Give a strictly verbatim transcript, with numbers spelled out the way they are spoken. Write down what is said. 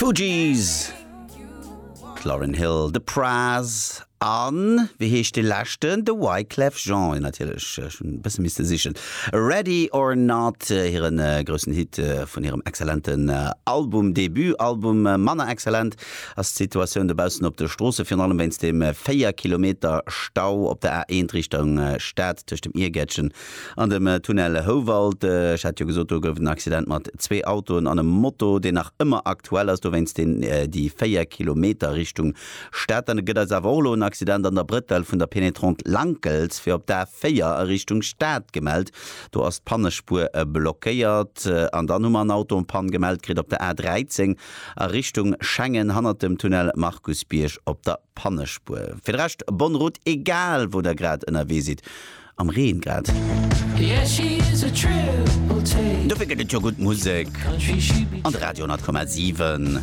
D'Fugees, d'Lauryn Hill, de Pras an, wéi heescht dee leschten? De Wyclef Jean, natierlech, ech hunn e bësse misste sichen. Ready or Not, hire groussen Hit vun hirem excellenten Album, Debut-Album. Manner excellent ass d'Situatioun dobaussen op de Stroosse, virun allem wéinst dem véier Kilometer Stau op der A eent Richtung Stad tëscht dem Iergäertchen an dem Tunnel Houwald. Ech hat jo gesot, do gouf et en Accident mat zwee Autoen an engem Moto, deen nach ëmmer aktuell ass, dowéinst deen déi véier Kilometer Richtung Stad. Dann gëtt eis awer och elo en Accident an der Brëttel vun der Pénétrante Lankels fir op d'A véier a Richtung Stad gemellt. Do ass d'Pannespuer blockéiert. An dann hu mer en Auto en panne gemellt kritt op der A dräizéng a Richtung Schengen hannert dem Tunnel Markusbierg op der Pannespuer. Fir de Rescht bonne route, egal wou der grad ënnerwee sidd, am Reen grad. Dofir gëtt et jo gutt Musek an de Radio honnert Komma siwen.